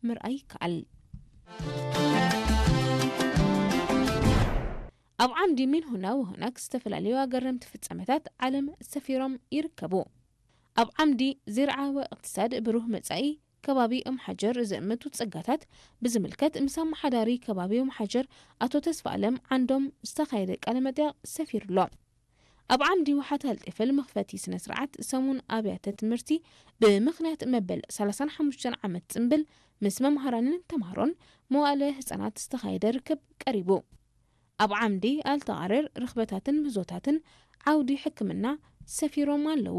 ምርኣይ ይከኣል። ኣብ ዓምዲ ሚንሁና ወሆናክ ዝተፈላለዩ ኣገረምቲ ፍጻመታት ዓለም ሰፊሮም ይርከቡ። ኣብ ዓምዲ ዚርዓ ወእቅትሳድ ብሩህ መጻኢ ከባቢ እምሓጀር ዝእምቱ ጸጋታት ብዝምልከት ምስ ኣመሓዳሪ ከባቢ እምሓጀር ኣቶ ተስፋ ኣለም ዓንዶም ዝተኻየደ ቃለ መጠይቕ ሰፊሩ ኣሎ። ኣብ ዓምዲ ውሓት ኣልጢፈል መኽፈቲ ስነ ስርዓት ሰሙን ኣብያተ ትምህርቲ ብምኽንያት መበል ሰላሳን ሓሙሽተን ዓመት ጽምብል ምስ መምሃራንን ተምሃሮን መዋእለ ህጻናት ዝተኻየደ ርክብ ቀሪቡ። ኣብ ዓምዲ ኣልተቓረር ርኽበታትን ምህዞታትን ዓውዲ ሕክምና ሰፊሮም ኣለዉ።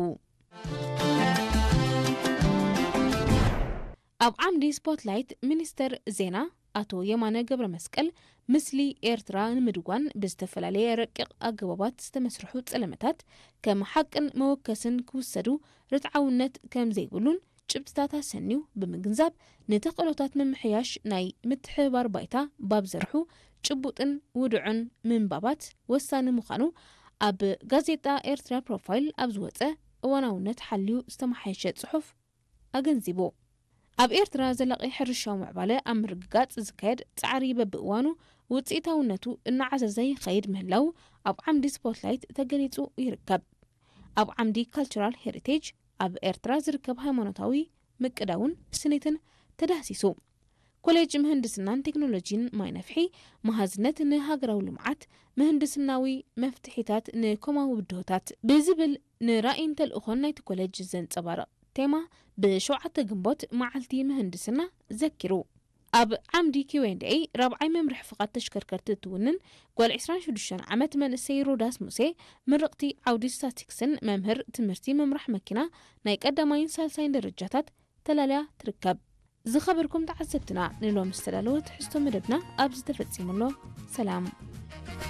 ኣብ ዓምዲ ስፖትላይት ሚኒስተር ዜና ኣቶ የማነ ገብረ መስቀል፣ ምስሊ ኤርትራ ንምድጓን ብዝተፈላለየ ረቂቕ ኣገባባት ዝተመስርሑ ጸለመታት ከም ሓቅን መወከስን ክውሰዱ ርትዓውነት ከም ዘይብሉን ጭብጥታት ኣሰንዩ ብምግንዛብ፣ ንተኽእሎታት ምምሕያሽ ናይ ምትሕብባር ባይታ ባብ ዘርሑ ጭቡጥን ውዱዕን ምንባባት ወሳኒ ምዃኑ ኣብ ጋዜጣ ኤርትራ ፕሮፋይል ኣብ ዝወጸ እዋናውነት ሓልዩ ዝተመሓየሸ ጽሑፍ ኣገንዚቡ። ኣብ ኤርትራ ዘላቒ ሕርሻዊ ምዕባለ ኣብ ምርግጋጽ ዝካየድ ጻዕሪ በብእዋኑ ውጽኢታውነቱ እናዓዘዘ ይኸይድ ምህላው ኣብ ዓምዲ ስፖትላይት ተገሊጹ ይርከብ። ኣብ ዓምዲ ካልቸራል ሄሪቴጅ ኣብ ኤርትራ ዝርከብ ሃይማኖታዊ ምቅዳውን ስኒትን ተዳህሲሱ። ኮሌጅ ምህንድስናን ቴክኖሎጂን ማይ ነፍሒ፣ መሃዝነት ንሃገራዊ ልምዓት፣ ምህንድስናዊ መፍትሒታት ንኮማዊ ብድሆታት ብዝብል ንራእይን ተልእኾን ናይቲ ኮሌጅ ዘንጸባርቕ ቴማ ብሸውዓተ ግንቦት መዓልቲ ምህንድስና ዘኪሩ። ኣብ ዓምዲ ኪው ኤንድ ኤ ራብዓይ መምርሒ ፍቓድ ተሽከርከርቲ እትውንን ጓል ዕስራን ሽዱሽተን ዓመት መንእሰይ ሮዳስ ሙሴ፣ ምርቕቲ ዓውዲ ስታቲክስን መምህር ትምህርቲ ምምራሕ መኪና ናይ ቀዳማይን ሳልሳይን ደረጃታት ተላልያ ትርከብ። ዝኸበርኩም ተዓዘብትና፣ ንሎሚ ዝተዳለወ ትሕዝቶ መደብና ኣብዚ ተፈጺሙ ኣሎ። ሰላም።